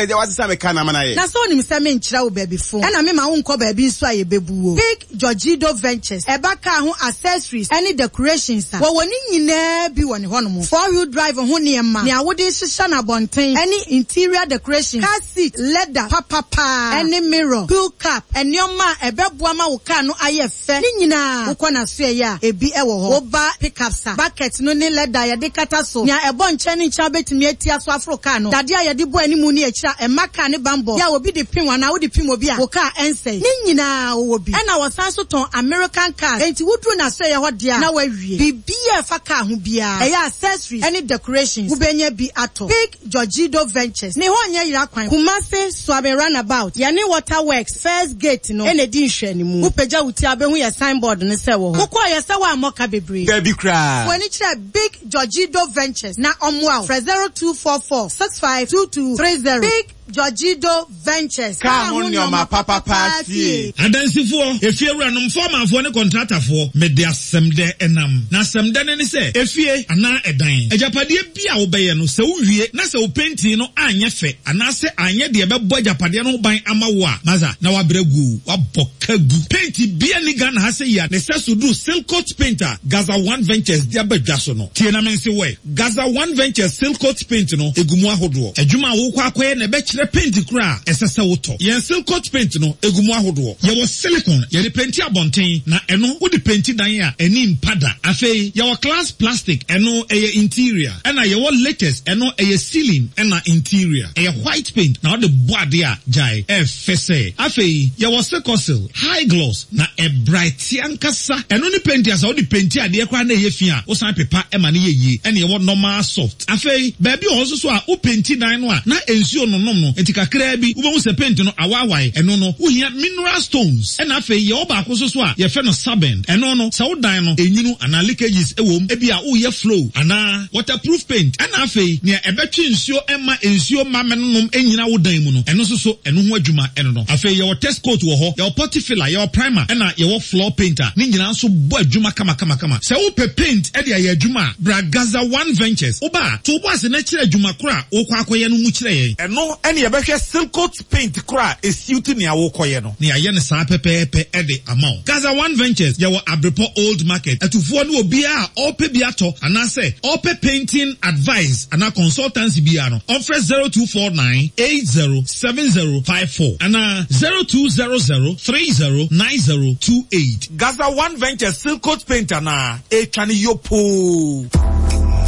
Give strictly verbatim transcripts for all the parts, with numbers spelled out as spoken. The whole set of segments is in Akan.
Ɛna ɛgya wasesa me kaa na ama no ayɛ. Na sɛ onim sɛ menkyerɛ wo baabi fo, ɛna mema wo nkɔ baabi nso a yɛbɛbu wo. Big Georgido Ventures, ɛba kaa ho accessories ɛne decorations a, wɔwɔ ne nyinaa bi wɔ ne hɔnom. Four wheel drive ho nneɛma, nea wode hyehyɛ no abɔnten, ɛne interior decoration, car seat, leather, papapaa, ɛne mirror, wheel cap, nneɛma a ɛbɛboa ma wo car no ayɛ fɛ. Ne nyinaa, wokɔ n'asoɛyɛ a, ebi ɛwɔ hɔ. Woba pickups a, bucket no ne leather a yɛde kata so, nea ɛbɔ nkyɛn ne nkyɛn wobɛtumi atia so aforo car no, dadeɛ a yɛde bɔ animu ne akyire a ɛma car ne bambɔ, yɛ a obi de pim anaa wode pim obi a, wo car ɛnsɛe. Ne nyinaa wɔwɔ bi. Ɛna wɔsan so tɔn American cars. Enti woduru n'asoɛyɛ hɔ deɛ a, na wawie. Biribiara a ɛfa car ho biara, ɛyɛ accessories ɛne decorations, wobɛnya bi atɔ. Big Georgido Ventures. Ne hɔ nyɛ yera kwan. Kumasi Suaben Roundabout, yɛne Waterworks first gate no ɛna edi nhwɛanimu. Wopagya wo ti a wobɛhu yɛ signboard no sɛ wɔ hɔ. Wokɔɔ yɛ sɛ woammɔ ka bebree. Dabi koraa. W'ani kyerɛ Big Georgido Ventures na ɔmmoa wo. Frɛ zero two four four six five two two three zero. Big Georgido Ventures. Kaa ho nneɛma papapa fie. Adansifoɔ, efiewuranom, fɔɔmanfoɔ ne kɔntratafoɔ, mede asɛm dɛ ɛnam. Na asɛm dɛ no ne sɛ, efie anaa ɛdan, agyapadeɛ bi a wobɛyɛ no, sɛ wowie na sɛ wo painting no anyɛ fɛ anaasɛ anyɛ deɛ ɛbɛbɔ agyapadeɛ no ho ban ama wo a, masa na wabrɛ gu, wabɔ ka gu. Paint bia ni Ghana ha sɛ yi a ne sɛ so duru Silcoat paint a Gaza One Ventures de aba dwa so no. Tie na me nse wɔ Gaza One Ventures Silcoat paint no egu mu ahodoɔ. Adwuma a wokɔ akɔyɛ na ɛbɛkyerɛ paint koro a ɛsɛ sɛ wotɔ. Yɛn Silcoat paint no egu mu ahodoɔ. Yɛwɔ silicone, yɛde painti abɔnten na ɛno wode painti dan a ani mpa da. Afei yɛwɔ glass plastic, ɛno ɛyɛ interior. Ɛna yɛwɔ latex, ɛno ɛyɛ ceiling ɛna interior. Ɛyɛ white paint na wode bɔ adeɛ a gyae ɛfɛ sɛ. Afei yɛwɔ Silcosil high gloss na ɛbright ankasa. Ɛno ne paint a sɛ wode painti adeɛ koraa na ɛyɛ fi a wosan pepa ɛma no yɛ yie. Ɛna yɛwɔ normal soft. Afei baabi wɔ hɔ nso so a wo painti dan no a na nsuo nonom no nti kakraa bi wobɛhu sɛ paint no awaawae. Ɛno no wohia mineral stones. Ɛna afei yɛwɔ baako nso so a yɛfrɛ no sabend. Ɛno no sɛ wo dan no enwunu anaa leakages ɛwɔ mu, ebi a woyɛ flow anaa waterproof paint. Ɛna afei nea ɛbɛtwe nsuo ɛma nsuo ma mɛnonom ɛnyina wo dan mu no, ɛno nso so ɛno ho adwuma ɛno no. Afei yɛwɔ test coat wɔ hɔ, yɛwɔ putty filler, yɛwɔ primer, ɛna yɛwɔ floor paint a ne nyinaa nso bɔ adwuma kama kama kama. Sɛ wopɛ paint ɛde ayɛ adwuma a, bra Gaza One Ventures. Woba a, to wo bo ase na kyerɛ adwuma koro a wokɔ akɔyɛ no mu kyerɛ yɛn. Ɛno ɛne yɛbɛhwɛ Silcoat paint koro a esiw nea wokɔyɛ no. Na yɛayɛ no saa pɛpɛɛpɛ ɛde ama wo. Gaza One Ventures yɛwɔ Abrepɔ Old Market. Atufoɔ ne obiara a ɔpɛ bi atɔ anaasɛ ɔpɛ painting advice anaa consultancy biara no, ɔmfrɛ zero two four nine eight zero seven zero five four anaa zero two zero zero three zero nine zero two eight. Gaza One Ventures Silcoat paint anaa etwa ne yopoo.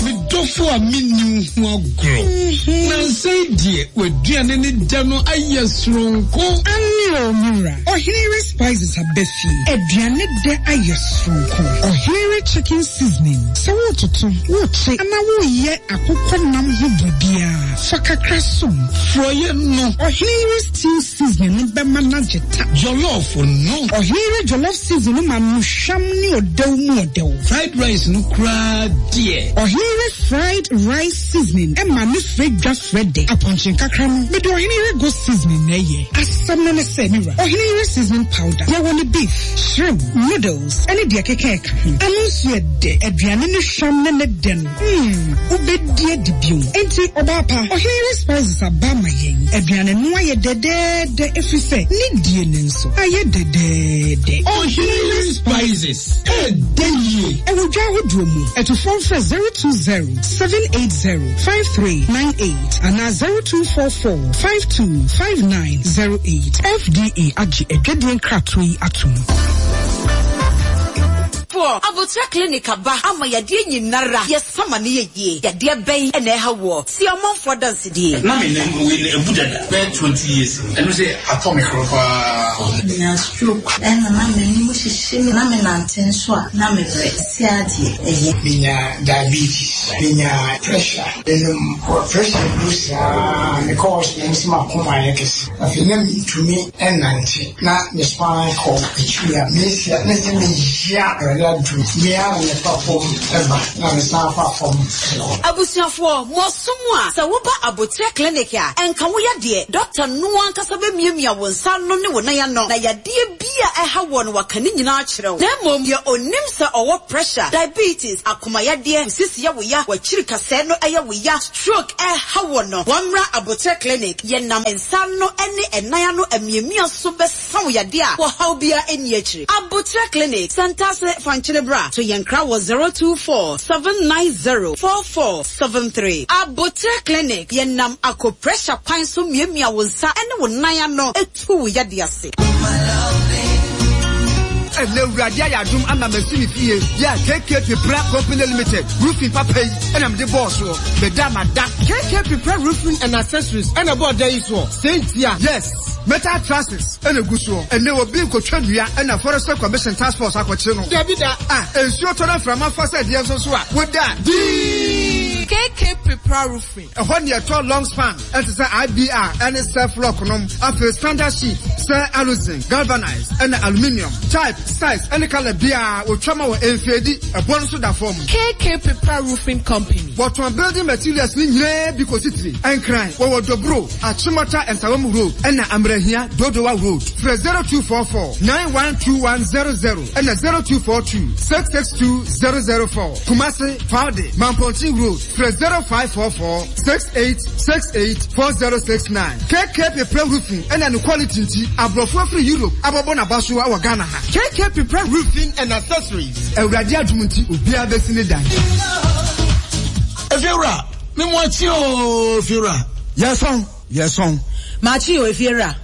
Me dɔfo a menni wo ho agorɔ. Nansa yi deɛ w'aduane ne dɛ no ayɛ soronko. Ane o mura. Ɔhenere Spices aba fie. Aduane dɛ ayɛ soronko. Ɔhenere Chicken Seasoning. Sɛ wototo, wokye, anaa woyɛ akokɔ nam ho biribiara, fa kakra som. Frɔyɛ no. Ɔhenere Stew Seasoning no bɛma n'agye ta. Jollof no. Ɔhenere Jollof Seasoning no ma no hwam ne ɔdɛw mu ɔdɛw. Fried rice no koraa deɛ. Ɔhenere Fried Rice Seasoning ɛma ne frɛ dwa frɛ dɛ. Apɔnkye kakra no, mede Ɔhenere Goat Seasoning na ɛyɛ. Asɛm no ne sɛ, mira, Ɔhenere Seasoning Powder, yɛwɔ ne beef, shrimp, noodles, ɛne deɛ keka ɛka ho. Ano nso yɛ dɛ. Aduane ne hwam ne ne dɛ no, hmm, wobɛdi adi bio. Enti, ɔbaa pa, Ɔhenere Spices aba ama yɛn. Aduane no ayɛ dɛdɛɛdɛ ɛfiri sɛ, ne die ne nso ayɛ dɛdɛɛdɛ. Ɔhenere Spices, ɛdɛ yie. Ɛwɔ dwa ahodoɔ mu. Ɛtofoɔ mfrɛ zero two zero seven eight zero five three nine eight anaa zero two four four five two five nine zero eight. F D A agye adwadie nkratoɔ yi atom. Foɔ Abotra Clinic aba ama yadeɛ nyinara yɛsama ne yɛ yie. Yadeɛ bɛn ɛna ɛha woɔ? Si ɔmanfoɔ dansedie. Na me nam wei na ebu dada bɛyɛ twenty years ni, ɛno sɛ atɔ me korɔ paa. Menya stroke ɛna na m'anim hyehye me, na me nante nso a na mebrɛ si adeɛ ɛyɛ. Menya diabetes, menya pressure, menom pressure du saa, mekɔ hospital sɛ makoma ayɛ kɛse. Afei na mentumi ɛnante na me spine kɔ akyiri a mesia na sɛ mehyia Awurade. aduru. Me ara na mefa fam ba na mesan fa fam kɔ. Abusuafoɔ, mo aso mu a, sɛ woba Aboterɛ Clinic a, ɛnka wo yadeɛ. Dɔkta no ankasa bɛmiamia wo nsa ano ne wo nan ano, na yadeɛ bi a ɛha woɔ no waka ne nyinaa akyerɛ wo. Na mmom, deɛ ɔnim sɛ ɔwɔ pressure, diabetes, akoma yadeɛ, wo sisi yɛ wo ya, w'akyiri kasɛɛ no yɛ wo ya, stroke ɛha woɔ no, wɔmmra Aboterɛ Clinic. Yɛnam nsa ano ne ɛnan ano amiamia so bɛsa wo yadeɛ a ɔhaw biara nni akyire. Aboterɛ Clinic, Santase Fankyene Bra, to yɛn kra wɔ zero two four seven nine zero four four seven three. Aboterɛ Clinic, yɛnam acupressure kwan so miamia wo nsa ne wo nan ano tu wo yadeɛ ase. Ɛnɛ Awurade ayɛ adom ama masi me fie yɛ a K K Pepra Company Limited roofing papa yi ɛna mede bɔɔ soɔ. Meda mada. K K Pepra Roofing and Accessories ɛna ɛbɔɔ dan yi soɔ. Sɛ ntia. Yes. Metal trusses ɛna gu soɔ. Ɛnɛ obi nkotwa nnua ɛna Forestry Commission Task Force akɔkye no. Dabi da. Ah, nsuo tɔ na mframa fa sɛ deɛ nso so a woda. Dii. K K Pepra Roofing. Ɛhɔ ne ɛtɔ long span ɛte sɛ I B R ɛne self lock nom. Afei standard sheet sɛ aluzinc, galvanized ɛna aluminium. Type, size ɛne color biara otwa ma wɔ mfeedi. Ɛbɔ no nso da fam. K K Pepra Roofing Company. Wɔtɔn building materials ne nyinaa bi kɔsi tiri. Nkran wɔwɔ Dobro, Achimota Nsawam Road ɛna Amrahia Dodowa Road. Frɛ zero two four four nine one two one zero zero ɛna zero two four two six six two zero zero four. Kumasi, Faude, Mampontin Road. Frɛ zero five four four six eight six eight four zero six nine. K K Pepra Roofing ɛna ne quality nti aborɔfo afiri Europe abɔbɔ n'aba so wɔ Ghana ha. K K Pepra Roofing and Accessories. Awurade adum nti obiara bɛsi ne dan. Efiewura, mi mu akyi ooo, efiewura. Yɛsɔn, yɛsɔn. Maakye o, efiewura.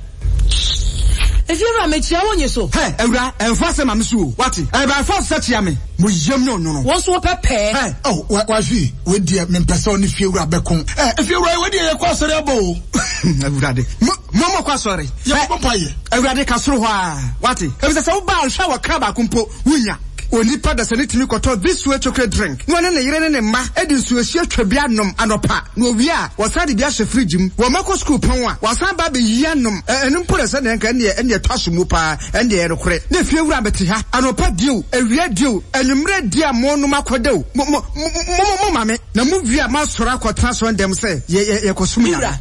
Efiewura, mekyia wo nye so. Hɛ, awura, ɛnfa asɛm ma me so o, wate? Ɛbɛn fɔ sɛ kyia me. Mo yam ne ɔnwono. Wɔn nso wɔpɛ pɛɛ. Hɛ. Oh, wa wahwi, wei deɛ mempɛ sɛ ɔne fiewura bɛko. Ɛ, efiewura, wei deɛ yɛkɔ asɔre abɔ o. Awurade, mo mo mo kɔ asɔre. Yɛkɔ mpa yɛ. Awurade ka soro hɔ a, wate? Efisɛ sɛ woba ahwɛ a wɔkra baako mpo, wonya. Onipa da sɛ ne tumi kɔtɔ This Way chocolate drink na ɔne ne yere ne ne mma de nsuohyia twa bi anom anɔpa na owie a wɔsan de bi ahyɛ fridge mu. Wɔn mma kɔ sukuu pɔn a wɔasan ba abɛyi anom. Ɛno mpo na sɛdeɛ nka ɛnneɛ ɛnneɛ ɛtɔ aso mu paa ɛnneɛ ɛyɛ nokorɛ. Na efie wura bɛte ha anɔpa die o, awia die o, anwummerɛ die a monom akɔda o, mo mo mo mo mo ma me na mo wie a moasɔre akɔtena asɔre dɛm sɛ yɛ yɛ yɛkɔsom Nyame. Wura,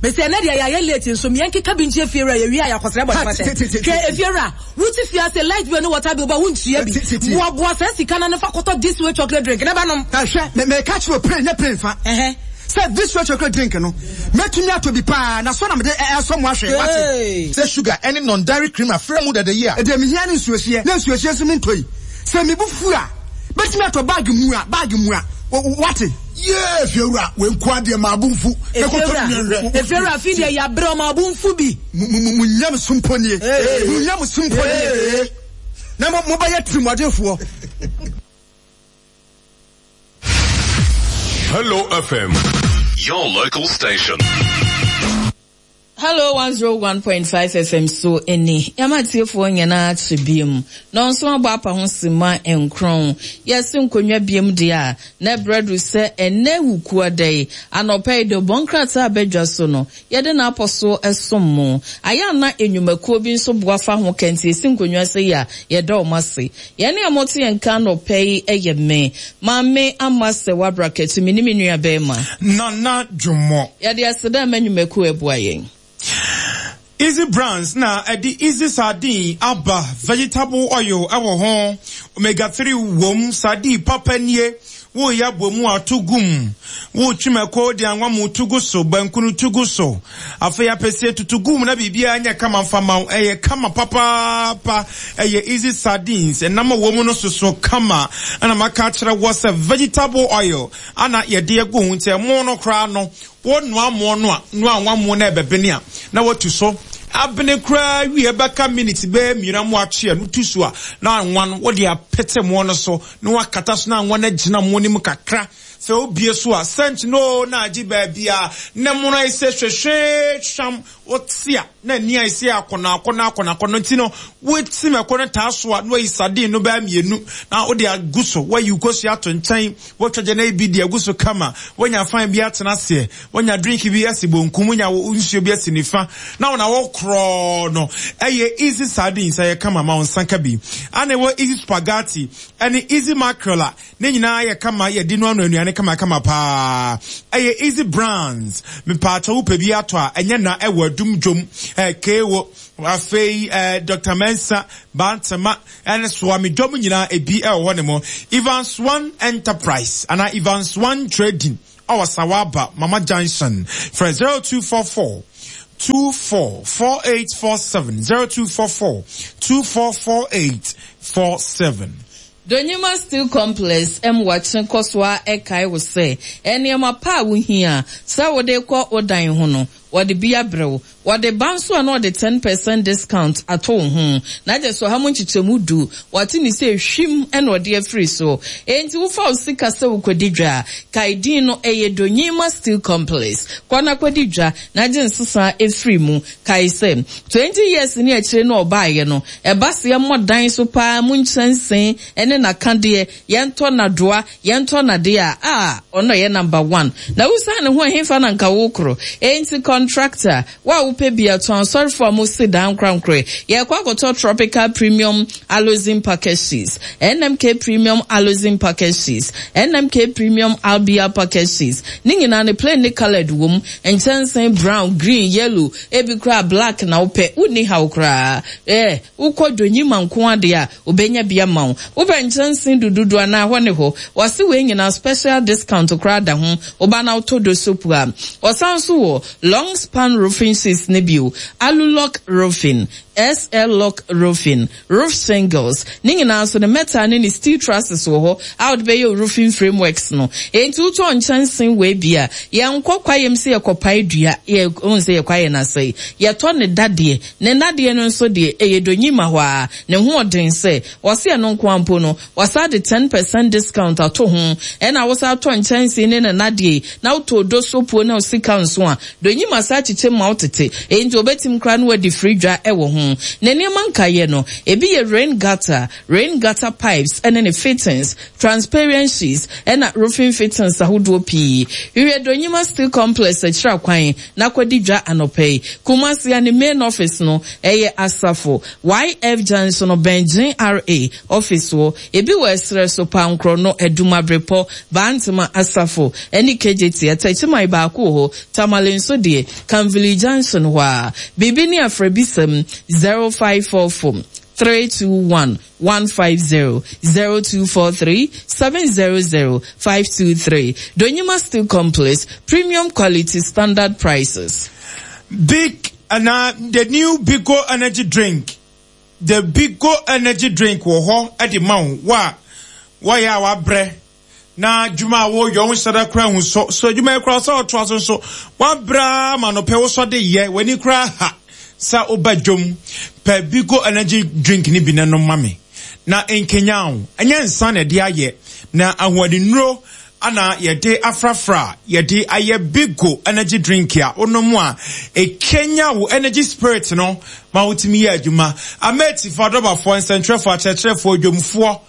mesi ɛnɛ deɛ yɛayɛ late nso mmea nkeka bi nkyɛn fiewura yɛwie a yɛakɔsrɛ bɔ Ha, ne te te te fahyɛ. Hwɛ efiewura, wote fie ase light bill ne water bill ba wontua bi. Te te te. Boaboa saa sika no ne fa kɔtɔ This Way chocolate drink ne ba nom. Ɛhwɛ, me meka kyerɛ o plane nyɛ plane fa. Ɛhɛ. Sɛ This Way chocolate drink no, mɛtumi atɔ bi paa na so na mede ɛ ɛsɔ mo ahwɛ, wate? Hey. Sɛ sugar ɛne non-dairy cream afra mu dada yi a. Ɛdeɛ mehia ne nsuohyeɛ, na nsuohyeɛ nso mentɔ yi. Sɛ mebu fu a, bɛtumi atɔ bag mu a, bag mu a, wate? Yee, fiewura, wei nko adeɛ maa bo mfu. Na kɔtɔ Efiewura, mi nhwɛ. efiewura fi deɛ yɛabrɛ ɔma abo mfu bi. Mo mo mo nyam so mpo nie. Mo nyam so mpo nie. Na mo mobɛyɛ tirimɔdenfoɔ. Hello F M, your local station. Hello one oh one point five F M so ɛni yɛma atiefoɔ nyinaa kye biem na ɔnso abɔ apa ho sima nkron yɛse nkonnwa biem deɛ a na ɛbrɛ do sɛ ɛnɛ wukuo da yi anɔpa yi de bɔn krataa abɛdwa so no yɛde n'apɔ so ɛsom mo ayɛ ana enwumakuo bi nso boa fa ho kɛntɛ esi nkonnwa sɛ yi a yɛda wɔn ase. Yɛne a mote yɛn nka anɔpa yi ɛyɛ me Maame Ama sɛ wabra kɛtɛ mi ne me nua bɛrima Nana Dwomɔ. Yɛde aseda ma nnwumakuo ɛboa yɛn. Easy Brands na ɛde Easy Sardine aba. Vegetable oil ɛwɔ ho, omega three wom, sardine papa nie. Woyɛ abomu ato gum, wotwi mako de anwa mu to gu so, bankunu to gu so, afei apɛsie tutu gum na biribiara nyɛ kama mfama wo. Ɛyɛ kama papaapa. Ɛyɛ Easy Sardines, ɛnam a wɔ mu no soso kama. Ɛna maka akyerɛ wɔ sɛ vegetable oil ana yɛde agu ho, nti ɛmo no koraa no wɔnoa mo no a noa anwa mo na ɛbɛbene a na watu so abene koraa wie bɛka minutes bɛyɛ mmienu mo atwe a no tu so a na anwa no wɔde apete mo no so na wakata so na anwa no agyina mo no mu kakra. Sɛ wobue so a, scent no oo na agye baabi a ne mono ayɛ sɛ hwehwee hwam. Wote a, na ani ayɛ sɛ akɔnɔ akɔnɔ akɔnɔ akɔnɔ nti no, wote mako no taa so a, na wayi sardine no bɛyɛ mmienu na wode agu so. Woayi wo kosua ato nkyɛn, woatwa gya no bi de agu so kama, woanya fan bi atena aseɛ, woanya drink bi asi bonkum, woanya wo nsuo bi asi nifa, na wo na wokorɔ no. Ɛyɛ easy sardines, ɛyɛ kama ma wo nsa ka bi. Ana ɛwɔ easy spaghetti ɛne easy mackerel a ne nyinaa yɛ kama, yɛde noanoa nnuane kamakama paa. Ɛyɛ Easy Brands. Mepaakyɛw wopɛ bi atɔ a, ɛnyɛ na ɛwɔ Adum Dwom, eh, Kewo, afei eh, Doctor Mensah, Bantama, ɛne Soame dwom nyinaa ebi ɛwɔ hɔ ne mo. Evans One Enterprise anaa Evans One Trading ɛwɔ Sawaba, Mama Junction. Frɛ zero two four four two four four eight four seven, zero two four four two four four eight four seven. Donyima Steel Complex Mmoakye kɔ so ara kae wo sɛ nneɛma pa a wuhia sɛ wode rekɔ wo dan ho no, wɔde bi abrɛ wo. Wɔde ba nso a na wɔde ten percent discount ato wo ho. Na gye sɛ ɔha mu nkyekyɛmu du, wɔate ne sɛ hwim na wɔde afiri so. Enti wofa wo sika sɛ wokɔdi dwa a, kae din no, ɛyɛ Donyima Steel Complex. Kɔ na kɔdi dwa na gye nsesa firi mu. Kae sɛ, twenty years ne akyire no a ɔbaeɛ no, ɛba sɛ yɛmmɔ dan so paa mu nkyɛnsee ne n'akadeɛ, yɛntɔ n'adoa, yɛntɔ n'adeɛ a, ah, ɔno ɔyɛ number one. Na wosiane ne ho a, ɛhefa na anka wokorɔ? Enti contractor, wo a wopɛ bi a, tɔn asɔrefoɔ a mosi dan ankorankorɛ. Yɛrekɔ akɔtɔ Tropical Premium Aloe Package Cheese, N M K Premium Aloe Package Cheese, N M K Premium Albia Package Cheese. Ne nyinaa no, plain ne coloured wom. Nkyɛnsee brown, green, yellow, ebi koraa black na wopɛ, wonni haw koraa. Eh, wokɔ Donyima nko ara deɛ a, obenya bi ama wo. Wopɛ nkyɛnsee dududu anaa hɔ ne hɔ? Wɔse wei nyinaa special discount koraa da ho. Woba na wotɔ do soap a. Wɔsan nso wɔ long span roofing sheets no bio, Alulock roofing, S L Lock roofing, roof shingles, ne nyinaa nso ne metal ne ne steel trusses wɔ hɔ a wode bɛyɛ wo roofing frameworks no. Enti wotɔ nkyɛnsee wei bi a, yɛnkɔ kwaeɛm sɛ yɛkɔpae dua, yɛ, wohu sɛ yɛ kwaeɛ no asɛe. Yɛtɔ ne dadeɛ. Ne nnadeɛ no nso deɛ, ɛyɛ donyima hɔ ara. Ne ho ɔden sɛ, wɔse ɛno nko ara mpo no, wɔasan de ten percent discount ato ho. Ɛna wosan tɔ nkyɛnsee ne ne nnadeɛ yi, na wotɔ odo sopuo ne wo sika nso a, donyima san kyekyem ma wo tete. Enti wɔbɛtim koraa na wɔadi firi dwa wɔ ho. Ne nneɛma nkaeɛ no, ebi yɛ rain gutter, rain gutter pipes ne ne fittings, transparent sheets, ɛna roofing fittings ahodoɔ pii. Hwehwɛ Donyima Steel Complex akyiri akwan na kɔdi dwa anɔpa yi. Kumasi a ne main office no ɛyɛ Asafo, Y F Junction no bɛn G R A office hɔ. Ebi wɔ ɛserɛ so, Pankorɔ no, Adum Abrepɔ, Bantama, Asafo, ɛne K J T. Atɛkyiman baako wɔ hɔ, Tamale nso deɛ, Kamvili Junction hɔ a. Biribi ne afrɛbisɛm zero five four four three two one one five zero, zero two four three seven zero zero five two three. Donyima Steel Complex, premium quality, standard prices. Big and, uh, the new Bigo energy drink. The Bigo energy drink wo ho e di ma wo wa wo ya wa bre na dwuma wo yo nsada kra hu so so dwuma kra so to aso so wa bra ma no pe wo so de ye wani kra ha sa oba dwom pe Bigo energy drink ni bi na no ma me na nkenya wo enye nsa na de aye na ahoɔdennuro ana yɛde afrafra yɛde ayɛ Bigo energy drink a onom a ekenya wo energy spirit no ma wotimi yɛ adwuma ameti fo adɔbafo nsɛntwerɛfo akyerɛkyerɛfo dwomfo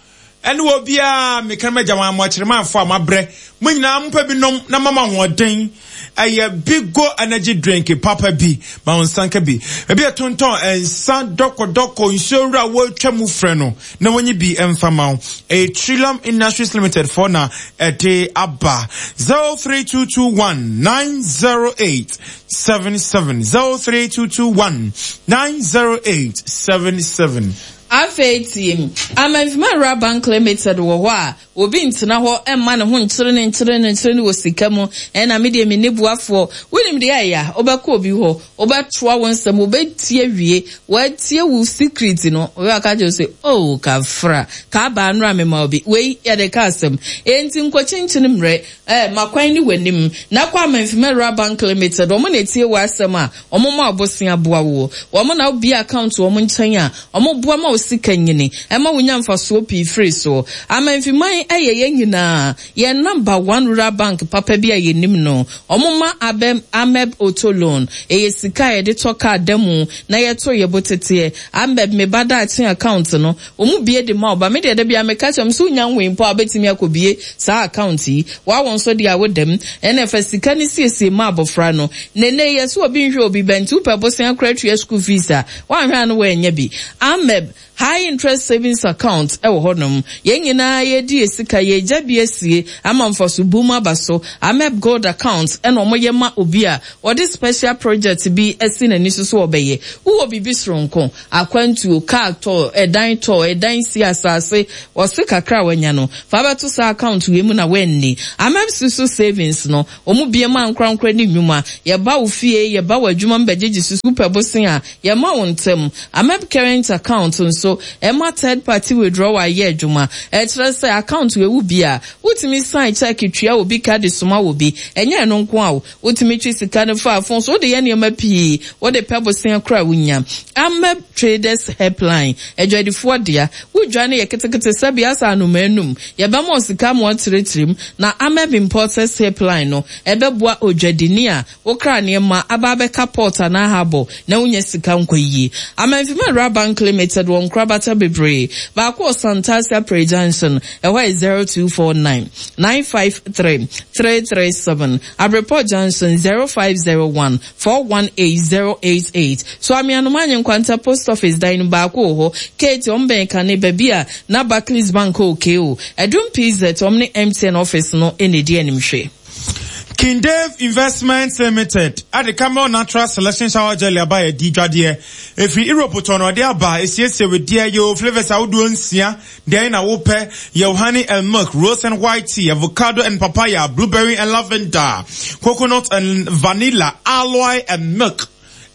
ɛne obi a meka ma gya mo akyerɛmanfo a mabrɛ mo nyinaa mpɛ bi nom na mama hoɔden ɛyɛ Bigo energy drink papa bi ma wo nsanka bi ebi tonton ensa dɔkɔdɔkɔ nsuo wura wo twa mu frɛ no na wonyi bi emfa ma wo e Trillium Industries Limited for na ɛde aba zero three two two one nine zero eight seven seven zero three two two one nine zero eight seven seven. Afei team Amenfima Bank Limited wɔ hɔ a obi ntena hɔ ɛmma ne ho nkyere ne nkyere ne nkyere ne wɔ sika mu ɛna me deɛ me ne buafoɔ wonim deɛ ɛyɛ wobɛkɔ obi hɔ wobɛtoa wo nsɛm wobɛtie wie wɔatie wo secret no obi aka kyerɛ sɛ oh kafra ka ba anora me ma obi wei yɛde ka asɛm enti nkɔkyinkyin mmerɛ eh makwan ne w'anim na kɔ Amenfima Bank Limited ɔmo na etie wɔ asɛm a ɔmo ma ɔbosia boa wo ɔmo na obi account ɔmo nkyɛn a ɔmo boa ma wo sika nyini ɛma wo nya mfasoɔ pii firi so Amenfima yɛ yɛn nyinaa yɛn number one rural bank papa bi a yɛnim no. Wɔma Abem Ameb Auto Loan. Ɛyɛ sika a yɛde tɔ kaa da mu na yɛto yɛ bo teteɛ. Ameb me ba daakye account no, wɔn bue de ma wo ba. Me deɛ da biara meka kyerɛ wɔn sɛ wonya nwoe mpo a wobɛtumi akɔbue saa account yi. Woawo nso deɛ a woda mu. Ɛna fa sika no siesie ma abɔfra no. Na ɛnnɛ yi yɛse obi nhwɛ obi ba nti wopɛ bosea koraa tua school fees a, woanhwɛ a na woannya bi. Ameb High interest savings account wɔ hɔnom. Yɛn nyinaa yɛredi yɛn sika, yɛregya bi asie ama mfaso bum aba so. Ameb Gold account na wɔyɛ ma obi a ɔde special project bi asi n'ani so sɛ ɔbɛyɛ. Wowɔ biribi soronko, akwantuo, car tɔ, ɛdan tɔ, ɛdan si, asase, ɔse kakra a wanya no, fa bɛto saa account wei mu na woanni. Ameb Susu Savings no, wɔbue ma ankorankoro ne nnwuma. Yɛba wo fie, yɛba w'adwuma mu bɛgyegye susu, wopɛ bosea a, Yɛma wo ntɛm. Amep Current Account nso, ɛma third party withdrawal yɛ adwuma. Ɛkyerɛ sɛ account wei wo bi a, wotumi sign check tua obi ka de soma obi. Ɛnyɛ ɛno nko ara o, wotumi twe sika no fa phone so, wode yɛ nneɛma pii, wode pɛ bosea koraa a wunya. Amep Traders Helpline, adwadifoɔ dea. Wo dwa no yɛ ketekete sɛbe asa anomaa anum, yɛbɛma wo sika ama woatrɛtrɛ mu. Na Amep Importers Helpline no, ɛbɛboa odwadini a Wokra nneɛma aba abɛka port anaa harbour na wonya sika nkɔ yie. Amanfima Rural Bank Limited wɔ nkorabata bebree. Baako wɔ Santase Aprɛ Junction, ɛhɔ yɛ zero two four nine, nine five three, three three seven, Abrepɔ Junction zero five zero one, four one eight zero eight eight. So Ameanom Anyenkwanta Post Office dan no baako wɔ hɔ, Kate wɔn bɛn kane baabi a na Barclays Bank wɔ K O. Adum P Z wɔn ne M T N office no na ɛdi animhwɛ. King Dave Investments Limited de Camel Natural Selection Shower Jelly aba yɛ di dwadeɛ. Ɛfiri Europe tɔn na ɔde aba, ɛsiesie wedeɛ, yɛwɔ flavours ahodoɔ nsia, deɛn na wopɛ? Yɛwɔ honey and milk, rose and white tea, avocado and papaya, blueberry and lavender, coconut and vanilla, aloe and milk.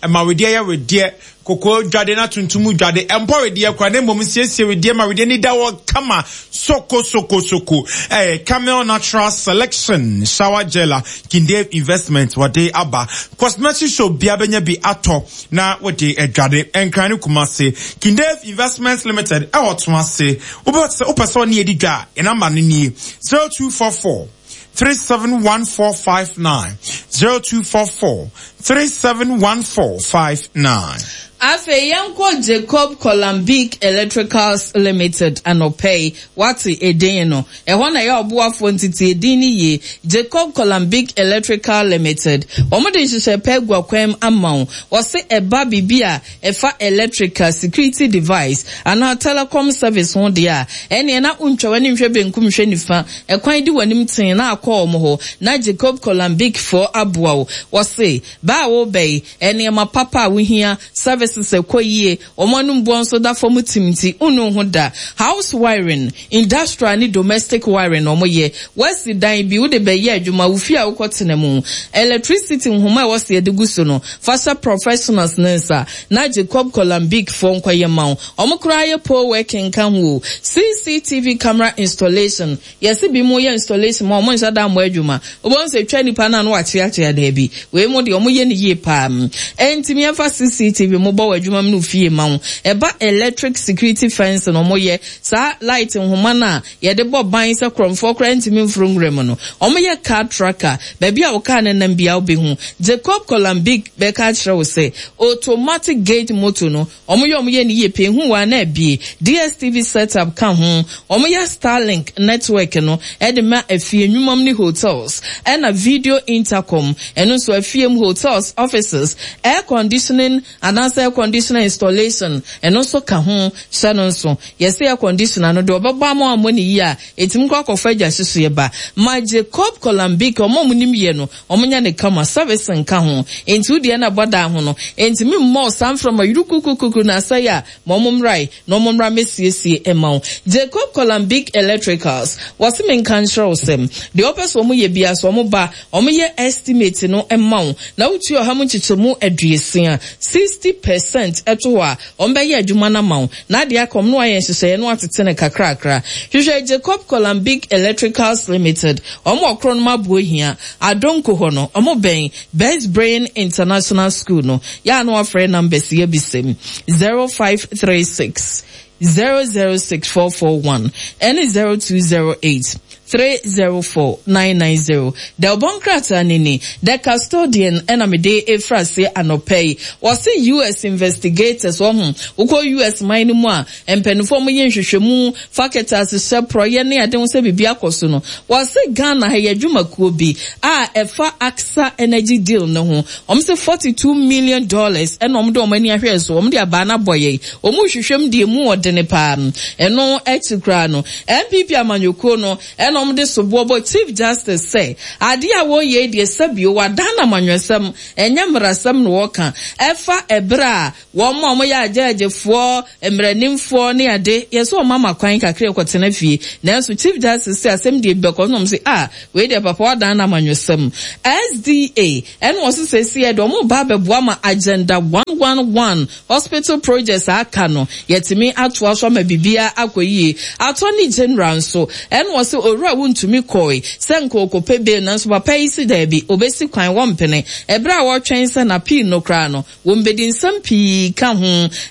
Ɛma wedeɛ yɛ wedeɛ, kɔkɔɔ dwade na tuntum dwade. Ɛmpɔ wedeɛ koraa na mmom siesie wedeɛ ma wedeɛ ni da hɔ kama soko soko soko. Ɛyɛ Camel Natural Selection Shower Gel a Kindave Investment wɔde aba. Cosmetic shop biara bɛnya bi atɔ na wɔde adwade. Nkran ne Kumasi. Kindave Investment Limited ɛwɔ Toase. Wopɛ sɛ wopɛ sɛ ɔne yɛdi dwa a, yɛn namba no nie, zero two four four three seven one four five nine zero two four four three seven one four five nine. Afei yɛnkɔ Jacob Kolambic Electricals Limited anɔpa yi. Woate edin no? Ɛhɔ na ɛyɛ ɔboafoɔ nti tie din no yie. Jacob Kolambic Electrical Limited. Wɔde nhyehyɛe pa agu akwan mu ama wo. Wɔse ɛba biribi a ɛfa electrical, security device, anaa telecom service ho deɛ a, ɛnneɛ na wontwa w'ani nhwɛ benkum nhwɛ nifa. Ɛkwan di w'anim tee na akɔ wɔn hɔ na Jacob Kolambic foɔ aboa wo. Wɔse, bɛ a woreba yi, nneɛma papa a wohia, services a ɛkɔ yie, wɔn anom boɔ nso da fam tim nti, wonnu wo ho da. House wiring, industrial ne domestic wiring na wɔyɛ. Woasi dan bi, wode bɛyɛ adwuma, wo fie a wokɔtena mu. Electricity nhoma a ɛwɔ sɛ yɛde gu so no, fa hyɛ professionals no nsa na Jacob Kolambic foɔ nkɔyɛ mma wo. Wɔn koraa yɛ pole working nka ho o. C C T V camera installation, Yɛse binom yɛ installation ma wɔn nhyɛ da mmɔ adwuma. Wobɛhu sɛ etwa nipa no a na wakyeakyea daabi. Wei mo deɛ wɔyɛ no yie paa. Ɛnti yɛmfa C C T V mobɔ wɔ adwuma mu ne wo fie ma wo. Ɛba electric security fencing wɔyɛ saa light nhoma no a yɛde bɔ ban sɛ korɔmfoɔ koraa ntumi mforo nwura mu no. Wɔyɛ car tracker, baabi a wo car no nam biara wobɛhu. Jacob Kolambik bɛka akyerɛ wo sɛ automatic gate motor no Ɔmo yɛ ɔmo yɛ no yie paa ehu waa na abie. D S T V set up ka ho. Ɔmo yɛ Starlink network no de ma afie, nnwumam ne hotels. Ɛna video intercom, ɛno nso afie mu, hotels, offices. Air conditioning anaasɛ air conditioner installation, ɛno nso ka ho. Hyɛ no nso, yɛse air conditioner no deɛ ɔbɛbɔ ama wammɔ no yie a, ɛtumi kɔ akɔfa gya hyehyeɛ ba. Ma Jacob Kolambik, ɔmo a ɔmo nim yɛ no, Ɔmo nyɛ no kama, service nka ho, enti wo deɛ na bɔ dan ho no, enti me mmɔ wo saa mframa yurukukukuku no asɛe a, ma ɔmo mmrae, na ɔmo mmra mmɛsiesie mma wo. Jacob Kolambik Electricals, wɔse me nka nkyerɛ wo sɛ, deɛ wopɛ sɛ ɔmo yɛ biara sɛ ɔmo ba, ɔmo yɛ estimate no ma wo, na wotua ɔha mu nkyekyɛmu aduosia, sixty percent, to hɔ a, ɔmo bɛyɛ adwuma no ama wo, na adeɛ aka ɔmo na wɔayɛ nhyehyɛeɛ na wɔatete no kakrakra. Hwehwɛ Jacob Kolambik Electricals Limited, ɔmo wɔ Kronom Abohia, Adonko hɔ no, ɔmo bɛn Best Brain International School no. Yɛ a na wafrɛ numbers yi abisa mu, zero five three six, zero zero six four four one ɛne zero two zero eight three zero four nine nine zero. Dɛwbɔ nkrataa no ni, The Custodian ɛna mede efiri aseɛ anɔpa yi. Wɔse U S investigators, wɔho wokɔ U S man no mu a, mpanimfoɔ mo yɛ nhwehwɛmu fa kɛtɛ hyɛ porɔyɛ ne ade ho sɛ biribi akɔ so no, wɔse Ghana ha yɛ adwumakuo bi a ɛfa Aksa Energy deal no ho. Wɔn sɛ forty two million dollars ɛna wɔn de wɔn ani ahwɛ so, wɔn de abaa no abɔ yɛn. Wɔn rehwehwɛ mu deɛ mu ɔdene paa. Ɛno akyi koraa no, N P P amanyɔkuo no ɛna wɔn de soboɔ bɔ Chief Justice sɛ adeɛ a wɔreyɛ deɛ, sɛbio wadan na amanyɔsɛm, ɛnyɛ mmarasɛm na wɔka ɛfa ɛberɛ a wɔn a wɔyɛ agyɛgyefoɔ, mmaranimfoɔ ne ade yɛsɛ wɔn ama kwan kakra kɔtena fie. Nanso Chief Justice sɛ asɛm deɛ bi bɛkɔ nom sɛ a wei deɛ papa wadan na amanyɔsɛm. S D A ɛna wɔso sɛ si yɛ deɛ wɔn ba abɛboa ma Agenda one one one hospital projects aka no yɛtumi atoa so ama biribiara akɔ yie. Attorney General nso ɛna wɔsɛ Owura Wontumi kɔe sɛ nka okɔpɛ bail, nanso papa yi si daabi, obesi kwan wɔmpene. Ɛberɛ a wɔretwɛn sɛ n'appeal no koraa no wɔn bɛdi nsɛm pii ka ho.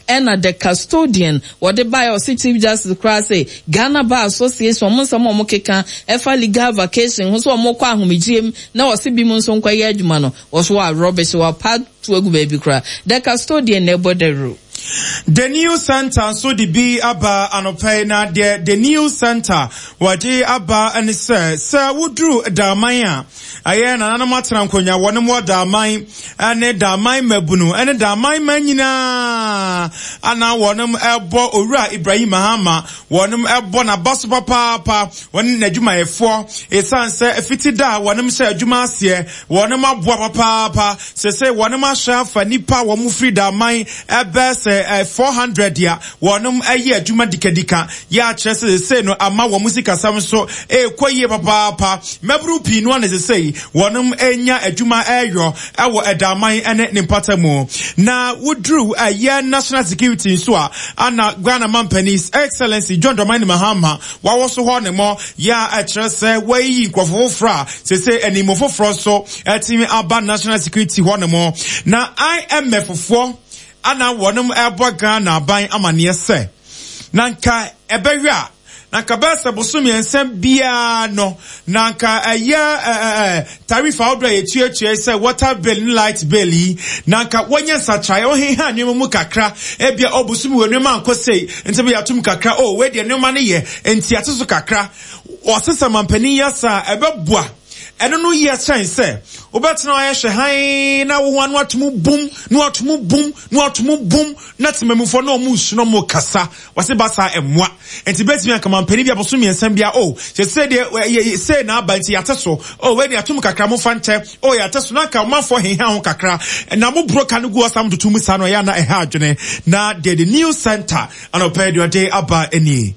Ɛna The Custodian wɔde baeɛ, ɔsi Chief Justice koraa sɛ Ghana Bar Association wɔn nsɛm a wɔn keka ɛfa legal vacation ho sɛ wɔn kɔ ahomegye mu na wɔsi bi mu nso nkɔyɛ adwuma no, wɔso wɔ rubbish, wɔapa to agu baabi koraa. The Custodian na ɛbɔ dawuro. The News Center nso de bi aba anɔpɛ yi, na deɛ The News Center wɔde aba ne sɛ sɛ woduru Daaman a, ɛyɛ nananom atena nkonnwa wɔne wɔ Daaman ne Daaman mmabunu ne Daaman ma nyinaa ana wɔnom ɛbɔ Owura Ibrahim Mahama, wɔnom ɛbɔ n'aba so papaapa, wɔne n'adwumayɛfoɔ, ɛsiane sɛ fiti da a wɔnom hyɛ adwuma aseɛ wɔnom aboa papaapa. Sɛ sɛ wɔnom ahyɛ afa nipa a wɔn firi Daaman ɛbɛ sɛ ɛ four hundred a wɔnom ɛyɛ adwuma dikadika yɛ akyerɛ sɛ sɛ no ama wɔn sikasɛm nso ɛrekɔ yie papaapa. Mmabunu pii no ana sɛ sɛ wɔnom anya adwuma ɛreyɔ ɛwɔ ɛdaaman ɛne ne mpata mu. Na woduru ɛyɛ national security nso a, ana Ghana mampanin, His Excellency John Dramani Mahama, wawɔ so hɔ ne mɔ yɛ a ɛkyerɛ sɛ wɔayi nkurɔfo foforɔ a sese animu foforɔ nso ɛtumi aba national security hɔ ne mɔ. Na I M F foɔ ana wɔnom ɛbɔ Ghana aban amanneɛ sɛ na nka ɛbɛyɛ a na nka bɛyɛ sɛ boso mmiɛnsa biara no na nka ɛyɛ ɛɛ tariff ahodoɔ a yɛtuatua sɛ water bill ne light bill yi, na nka wɔnyɛ nsakyerɛ, wɔheha nneɛma mu kakra. Ebia ɔbosom wɔ nneɛma ankɔ sei nti bi yɛatom kakra, o wei deɛ nneɛma no yɛ nti ate so kakra. Ɔsesa mampanin yɛ saa, ɛbɛboa. Ɛno no yɛ kyɛn sɛ wobɛtena ayɛ hwɛ hann na wo ho ano atom bum na watom bum na watom bum na temamufoɔ na ɔmo nsu na ɔmo kasa wɔse ba saa ɛmmoa. Nti bɛtumi anka mampanin bi aboso mmiɛnsa bia o sɛ sɛ deɛ sɛ na aba nti yɛate so, o wei deɛ atom kakra, mofa nkyɛ, o yɛate so, na nka ɔmanfoɔ heha ho kakra na mo buro ka no gu ɔsam toto mu saa no ɛyɛ na ɛha adwene. Na deɛ The News Center anɔpɛ deɛ ɔde aba nie.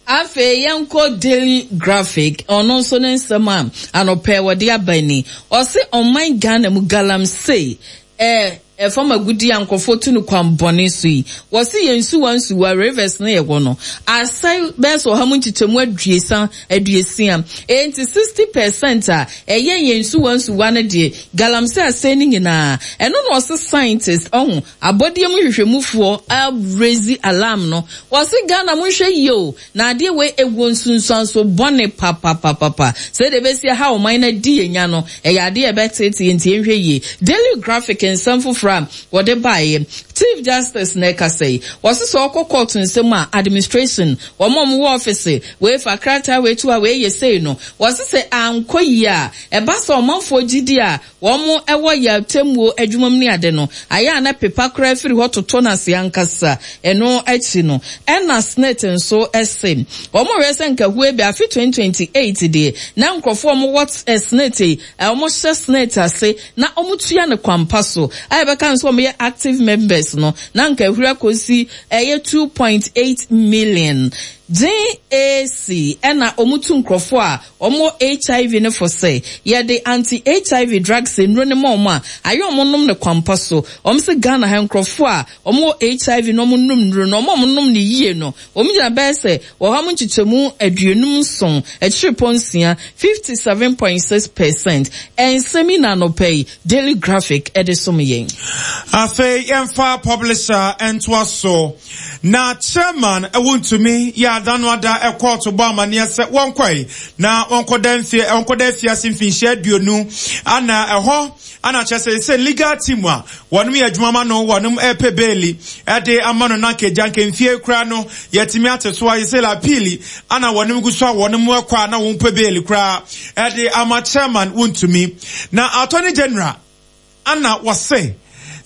Afei yɛnkɔ Daily Graphic, ɔno nso ne nsɛm a anɔpɛ wɔde aba ni. Ɔse ɔman Ghana mu galamsey, ɛɛ ɛfam agudi a nkurɔfoɔ tu no kwan bɔne so yi, wɔsi yɛn nsuwa nsuwa rivers no yɛ wɔ no asɛe bɛyɛ sɛ ɔha mu nkyekyɛmu aduasa aduosia. Enti sixty percent a ɛyɛ yɛn nsuwa nsuwa no deɛ, galamsey asɛe no nyinaa. Ɛno na ɔse scientist ɔho abɔdeɛ mu hwehwɛmufoɔ araise alarm no. Wɔsi Ghana mo nhwɛ yie o, na adeɛ wei ewu nsunsuanso bɔne papapapapa sɛdeɛ ebesi ha ɔman no adi yɛn nya no, ɛyɛ adeɛ ɛbɛtete yɛn, nti yɛnhwɛ yie. Daily Graphic nsɛm foforɔ a wɔde baeɛ, Chief Justice na ɛkasa yi, wɔsi sɛ ɔkɔ court nsɛm a administration wɔn a wɔwɔ office wei fa krataa wei to a wei yɛ sei no, wɔsi sɛ ankɔ yie a, ɛba sɛ ɔmanfoɔ gyidi a wɔn ɛwɔ yɛ atemmuo adwuma mu ne ade no ayɛ a na pepa koraa firi hɔ totɔ n'ase ankasa. Ɛno akyi no, ɛna SSNIT nso ɛse wɔn rɛ sɛ nkahue bi afe twenty twenty-eight deɛ na nkurɔfoɔ a wɔwɔ SSNIT, wɔn hyɛ SSNIT ase na wɔn tua ne kwampa so a yɛbɛka nso wɔn yɛ active members no, na nkahuri akɔsi ɛyɛ two point eight million. G A C ɛna wɔn tu nkurɔfoɔ a wɔn wɔ H I V no fo sɛ yɛde anti-H I V drugs nnuro no ma wɔn a, ayɛ wɔn nom no kwampa so. Wɔn se Ghana ha nkurɔfoɔ a wɔn wɔ H I V na wɔn nom nnuro no, wɔn a wɔn nom no yie no, wɔn gyina bɛyɛ sɛ ɔha mu nkyekyɛmu aduonum nson, akyiripɔ nsia, fifty seven point six percent. Nsɛm yi na anɔpa yi Daily Graphic de som yɛn. Afei yɛmfa publisher ntoa so. Na chairman Wontumi yɛ ada no ada kɔɔto bɔ amaneɛ sɛ wɔnkɔe na wɔnkɔda mfie wɔnkɔda afiase mfinhyia aduonu ana ɛhɔ ana kyerɛ sɛ sɛ legal team a wɔnom yɛ adwuma ma no wɔnom ɛpɛ beeli ɛde ama no na nkegya nkemfie koraa no yɛtumi ate so ayɛ sɛ appeal ana wɔnom gu so a wɔnom ɛkɔ a na wɔn pɛ beeli koraa ɛde ama chairman Wontumi na attorney general ana wɔse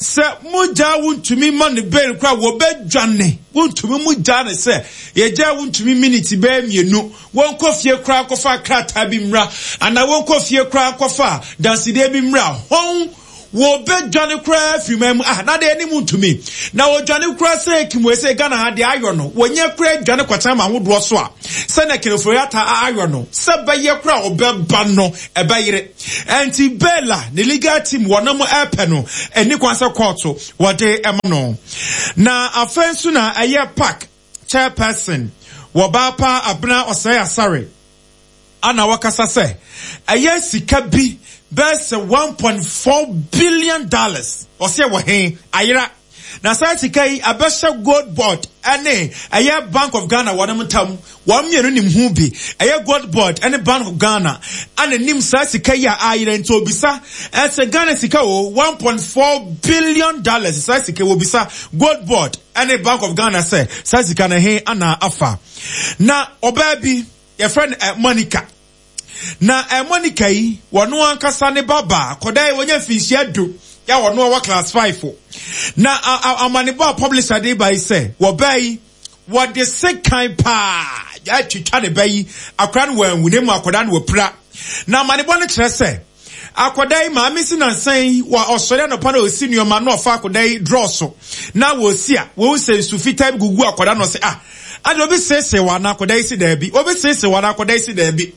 sɛ mogya wontumi ma ne bail kora wɔbɛdwane wontumi mogya ne sɛ yɛgya wontumi miniti bɛɛ mmienu wɔnkɔ fie kora nkɔfa krataa bi mmra anaa wɔnkɔ fie kora nkɔfa dansedeɛ bi mmra hɔn wɔbɛdwane kora afiri man mu ah na deɛ anim ntumi na wɔdwane kora sɛ kimwe sɛ Ghana ha deɛ ayɔ no wɔnyɛ kora dwane kɔkyɛn ma ahodoɔ so a sɛ na Ken Ofori-Atta ayɔ no sɛ bɛyɛ kora ɔbɛba no ɛbɛyere enti Bella ne legal team wɔnam ɛpɛ no ɛni kwan sɛ kɔɔto wɔde ɛma no na afei nso na ɛyɛ park chairperson wɔbaapa Abena Osei Asare ana wakasa sɛ ɛyɛ sika bi bɛsɛ one point four billion dollars ɔsɛ wɔ he ayera na saa sika yi abɛhyɛ Gold Board ɛne ɛyɛ Bank of Ghana wɔn ntam wɔn mmienu nim ho bi ɛyɛ Gold Board ɛne Bank of Ghana ana nim saa sika yi a ayera nti obisa ɛsɛ Ghana sika o one point four billion dollars saa sika wɔ bisa Gold Board ɛne Bank of Ghana sɛ saa sika na he ana afa na ɔbaa bi yɛfrɛ no Monica na Monica yi wɔn ankasa ne baba kɔda yi wɔnyɛ mfinhyia du ya wɔn wɔ class five na amanebɔ a publisher de ba yi sɛ wɔbaa yi wɔde sekan paa atwitwa ne ba yi akora no wɔanwu ne mu akɔda no wɔpira na amanebɔ no kyerɛ sɛ akɔda yi maame si nansan wɔ ɔsɔre anɔpa na osi nneɛma na ɔfa akɔda yi draw so na wɔsi a wɔn sɛ nsu fitaa bi gugu akɔda no sɛ ah ade obi sese wa na akɔda yi si daabi obi sese wa na akɔda yi si daabi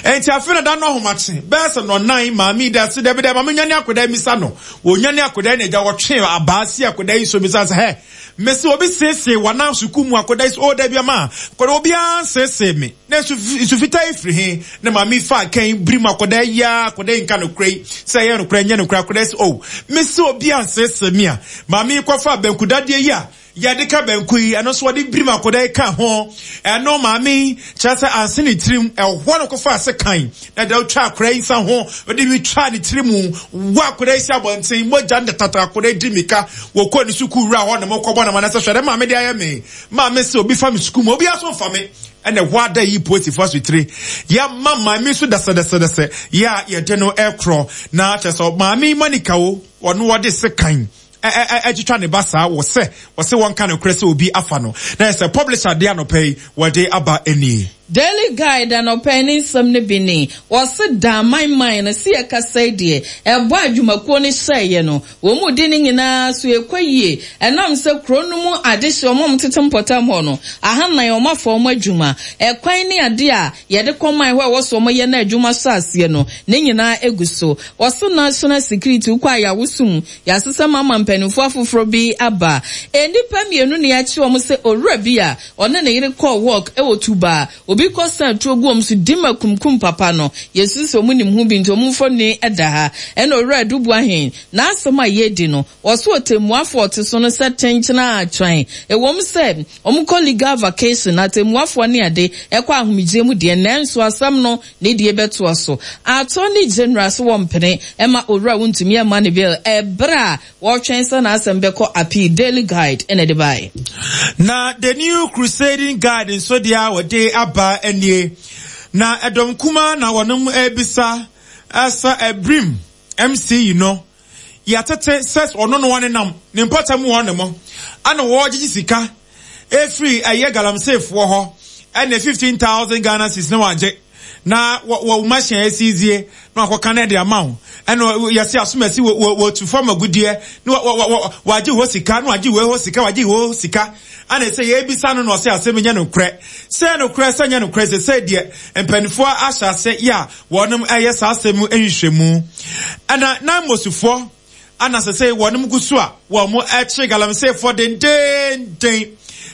enti afi na da no ahomakye bɛɛ sɛ no nan maame da si daabi daabi maame nyane akɔda yi misa no wɔnyane akɔda yi na agya wɔtwe abaa si akɔda yi so misa sɛ hɛ mesi obi sese wa na sukuu mu akɔda yi so o daabi ama akɔda obi ansese me na nsu fitaa yi firi he na maame fa kan biri mu akɔda yi ya akɔda yi nka no kura yi sɛ ɛyɛ no kura nyɛ no kura akɔda yi so o mesi obi ansese me a maame kɔfa bankudadeɛ yi a yɛde ka banku yi ɛno nso wɔde birim akɔda yi ka ho ɛno maame kyerɛ sɛ anse ne tirim ɛhɔ no kɔfa ase kan na deɛ wotwa akɔda yi nsa ho wɔde bi twa ne tirim wɔ akɔda yi si abɔnten mogya ne tata akɔda yi di mika wɔkɔ ne sukuu wura hɔ ne mo kɔbɔ ne ma na sɛ hwɛ dɛ maame de ayɛ me maame sɛ obi fa me sukuu mu obi aso mfa me ɛna ɛhɔ ada yi polisifoɔ asotire yɛ ma maame nso dasɛdɛsɛdɛsɛ yɛ a yɛde no ɛkorɔ na kyerɛ sɛ maame Monica wo ɔno wɔde se kan ɛtwitwa ne ba saa wɔ sɛ wɔsɛ wɔnka no korɛ sɛ obi afa no na ɛsɛ publisher de anɔpɛ yi wɔde aba ani. Daily Guide anɔpɛ ne nsɛm no bi ni wɔse da man man no si ɛkasa deɛ ɛbɔ adwumakuo no hyɛeɛ no wɔn mu di ne nyinaa so ɛkɔ yie ɛnam sɛ kuro no mu adehye wɔn tete mpɔtam hɔ no ahanan wɔn afa wɔn adwuma ɛkwan ne ade a yɛde kɔ man hɔ a ɛwɔ so wɔn yɛ no adwuma so aseɛ no ne nyinaa egu so wɔse national security kɔ a yɛawosum yɛasesa mama mpanimfoɔ afoforɔ bi aba nnipa mmienu ne akyi wɔn sɛ owura bi a ɔne ne yere kɔɔ work ɛwɔ Tuba obi kɔ san tuo gu wɔn so di ma kumkum papa no yesu sɛ ɔmo nim ho bi nti ɔmo mfoni ɛda ha ɛna owura Adubu ahen n'asɛm a yɛdi no wɔso ɔtɛmmuafoɔ ɔte so no sɛ tenkyena atwan ɛwɔm sɛ ɔmo kɔ legal vacation na atɛmmuafoɔ ne ade ɛkɔ ahomegye mu deɛ nanso asɛm no ne deɛ bɛtoa so Attorney General so wɔ mpene ɛma owura Wontumi ɛma ne bill ɛbrɛ a wɔtwɛn sɛ n'asɛm bɛkɔ appeal. Daily Guide ɛna ɛde baeɛ. Na the New Crusading Guide nso deɛ a wɔde aba nie na ɛdɔm kuma na wɔnom ebisa ɛsɛ ɛbrim M C yi no yɛatete sɛ ɔno no wɔne nam ne mpɔtam wɔ ne mo ana wɔgyegye sika efiri ɛyɛ galamseyfoɔ hɔ ɛna fifteen thousand Ghana cedis na wagye Na wɔ wɔ machine esizie na wakɔka no de ama wo. Ɛna yɛse asomasi wɔ wɔ tu fam agudeɛ na wɔ wɔ wagye hɔ sika na wagye wɔ hɔ sika wagye hɔ sika. Ana sɛ yɛbisa no na ɔsɛ asɛm nyɛ nokorɛ. Sɛ nokorɛ sɛ nyɛ nokorɛ sɛ sɛ deɛ mpanimfoɔ ahyɛ ase yɛ a wɔnom ɛyɛ saa asɛm nhwehwɛmu. Ɛna nan mosifoɔ ana sɛ sɛ wɔnom gu so a wɔn mo ɛkye galamseyfoɔ dendenden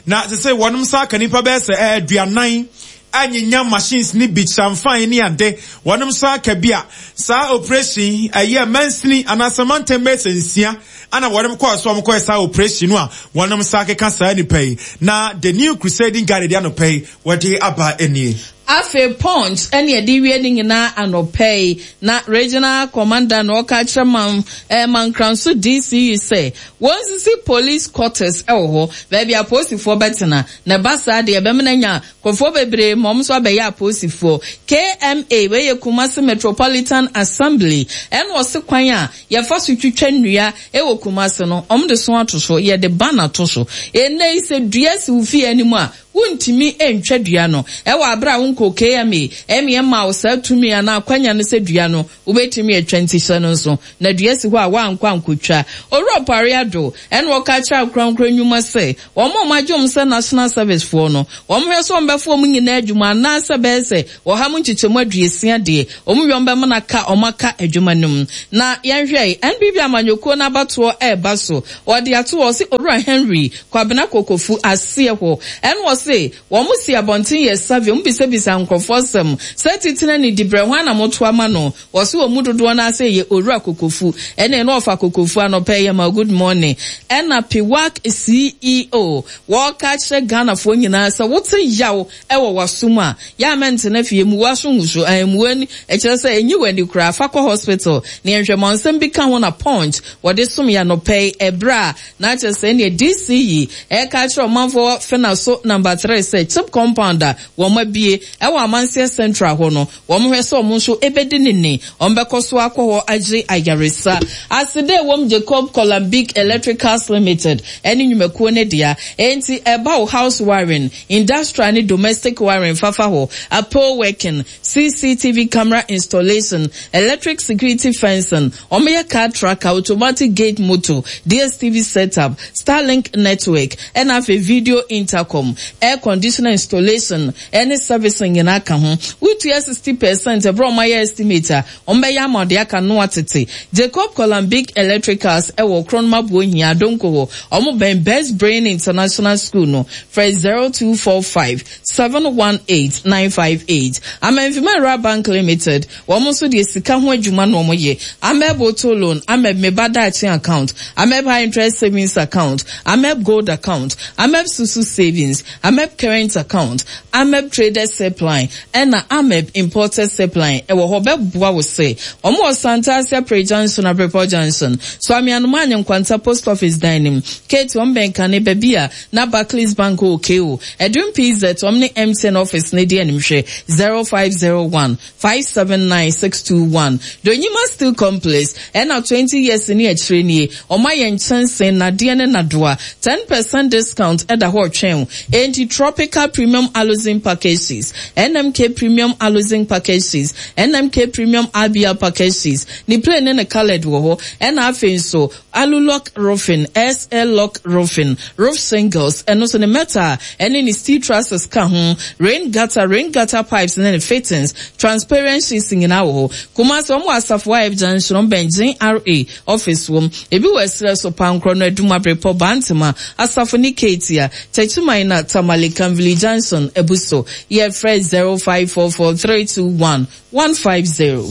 na sɛ sɛ wɔnom sa aka nipa bɛyɛ sɛ aduanan anyinya machines ni bi kyamfan ne ade wɔnom sa aka bi a saa operation ɛyɛ mansini anaasɛ mantam bɛyɛ sɛ nsia ana wɔnom kɔɔ so wɔn kɔɛ saa operation no a wɔnom sa keka saa nipa yi na the New Crusading Guard de anɔpɛ yi wɔde aba nie. Afei Punch ɛne ɛde wie ne nyinaa anɔpɛ yi na regional commander na ɔka kyerɛ man ɛɛ Mankranso D C E sɛ wɔnsisi police quarters ɛwɔ hɔ, baabi apolisifoɔ bɛtena na ɛba saa deɛ ɛbɛma nya nkurɔfoɔ bebree ma wɔn nso abɛyɛ apolisifoɔ. K M A, wei yɛ Kumasi Metropolitan Assembly, ɛna ɔse kwan a yɛfa so twitwa nnua ɛwɔ Kumasi no, wɔn de so ato so, yɛde ban ato so. Ɛnɛ yi sɛ dua si wo fie anim a, wontumi ntwa dua no ɛwɔ abere a wonkɔ K M A ɛmeɛ ma wo saa tumi anaa akwanya no sɛ dua no wobɛtumi atwa. Nti hyɛ no nso na dua si hɔ a woankɔ ankɔtwa. Owura Opare Addo ɛna ɔka kyerɛ akorankora nnwuma sɛ wɔn a wɔagye wɔn sɛ national service foɔ no, wɔn hwɛ sɛ wɔn bɛfo wɔn nyinaa adwuma anaasɛ bɛyɛ sɛ ɔha mu nkyekyɛmu aduosia deɛ wɔn wie wɔn bɛma no aka wɔn aka adwuma no mu. Na yɛnhwɛ N P P amanyɔkuo n'abatoɔ ɛreba so, wɔde ato hɔ sɛ Owura Henry Kwabena Kokofu aseɛ hɔ ɛna wɔse wɔn si abɔnten yɛ survey, wɔn bisabisa nkurɔfoɔ sɛm sɛ titire ne dibrɛ ho anamoto ama no. Wɔse wɔn mu dodoɔ no ase yɛ Owura Kokofu. Ɛna ɛna ɔfa Kokofu anɔpɛ yɛ ma good morning. Ɛna Piwak C E O wɔka kyerɛ Ghanafoɔ nyinaa sɛ wote yaw ɛwɔ w'asom a, yɛ a mɛntena fie mu waso nhuso ɛmu ani ɛkyerɛ sɛ enyi w'ani koraa, fa kɔ hospital na yɛnhwɛ ma nsɛm bi ka ho. Na Punch wɔde som yɛ anɔpɛ yi ɛbrɛ a na kyerɛ sɛ ɛnea D C yi ɛka kyerɛ ɔmanfoɔ fena so number three sɛ CHPS compound a wɔn abie ɛwɔ Amanseɛ Central hɔ no, wɔn hwɛ sɛ wɔn nso ebedi ne ni, wɔn bɛkɔ so akɔ hɔ agye ayaresa. Asede wɔm Jacob Colombic Electricals Limited ɛne nnwumakuo ne dea. Enti ɛba wo house wiring, industrial ne domestic wiring fafa hɔ, apple working, C C T V camera installation, electric security fencing, wɔn yɛ car tracker, automatic gate motor, D S T V setup, Starlink network, ɛna afei video intercom, air conditioner installation ɛne servicing nyinaa ka ho. Wotua sixty percent ɛbrɛ wɔn ayɛ estimate a, wɔn bɛyɛ ama ɔde aka no atete. Jacob Colombic Electricals ɛwɔ Kronoma Buohia Adonko hɔ, wɔn bɛn Best Brain International School no. Frɛ zero two four five seven one eight nine five eight. Amenfima Rural Bank Limited, wɔn nso deɛ sika ho adwuma na wɔn yɛ. Ameb Auto Loan, Ameb Meba Daakye Account, Ameb High Interest Savings Account, Ameb Gold Account, Ameb Susu Savings, Ameb Current Account, Ameb Traders Helpline, ɛna Ameb Importers Helpline ɛwɔ hɔ bɛboa wo sɛ wɔn wɔ Santase Pre Junction, Abrepɔ Junction so, Amianoma Anyenkwanta Post Office dan nim, Kate wɔn bɛn kane baabi a na Barclays Bank wɔ ko Ɛdum P Z, wɔn ne M T N office ne di anim. Hwɛ zero five zero one five seven nine six two one. Donyima Steel Complex ɛna twenty years ne akyire nie, ɔmo ayɛ nkyɛnsee nadeɛ ne nadoa, ten percent discount ɛda hɔ ɔtwɛn. Enti Tropical Premium Aluzinc packages, N M K Premium Aluzinc packages, N M K Premium R B L packages, ne plain ne ne coloured wɔ hɔ. Ɛna afei nso Alulock Roofing, S L Lock Roofing, roof shingles, ɛno nso ne metal ɛne ne steel trusses ka ho, rain gutter, rain gutter pipes ne ne fittings, transparent sheets nyinaa wɔ hɔ. Kumasi, wɔn wɔ Asafo F Junction, wɔn bɛn G R A office wɔm. Ebi wɔ ɛsrɛ so Pankorɔ no, Adum, Abrepɔ, Bantama, Asafo ne Keetia, Techiman na Tamale Kanvili Junction ebu so. Yɛfrɛ zero five four four three two one one five zero.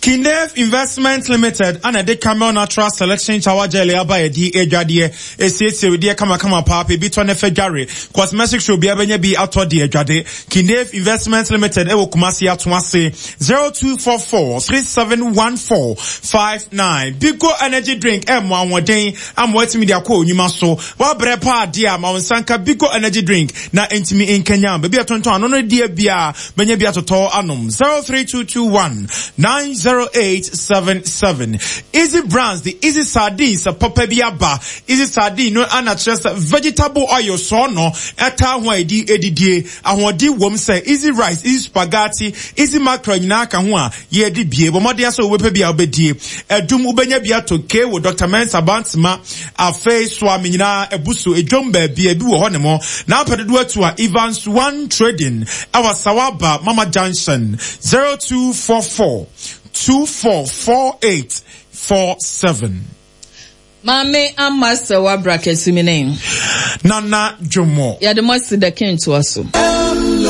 Kinef Investment Limited ana ɛde Camel Natural Selection Shower Gel aba. Yɛde adwadeɛ esiesie wedeɛ kamakama paapa ebi tɔ ne fɛ dware cosmetic show bia bɛnya bi atɔ de adwade. Kinef Investment Limited ɛwɔ Kumasi ato ase, zero two four four three seven one four five nine. Bigo Energy Drink ɛmo ahoɔden ama watumi de akɔ onyuma so. Wabrɛ paa adeɛ a ma wo nsa nka Bigo Energy Drink na ntumi nkanya baabi a tontɔn ano no deɛ bia bɛnya bi atotɔ anom. zero three two two one nine zero zero eight seven seven. Easy Brands de Easy Sardines papa bi aba. Easy Sardine no ana kyerɛ sɛ vegetable oil sɔɔ no ɛtaa ho a yɛde edidie. Ahoɔden wom sɛ Easy Rice, Easy Spaghetti, Easy Mackerel nyinaa ka ho a yɛde bie. Bɔ mmɔden sɛ wobɛpɛ bi a wobɛdie. Ɛdum wobɛnya bi ato K wɔ Doctor Mensah Bantama. Afei soa me nyinaa abu so edwom baabi a ebi wɔ hɔ ne mo. Na apɛ dodoɔ atu a Evans One Trading ɛwɔ Sawaba Mama Junction zero two four four two four four eight four seven. Maame Ama sɛ wabra kɛse mi ne. Nana Dwomo. Yɛde mo asi the king toa so.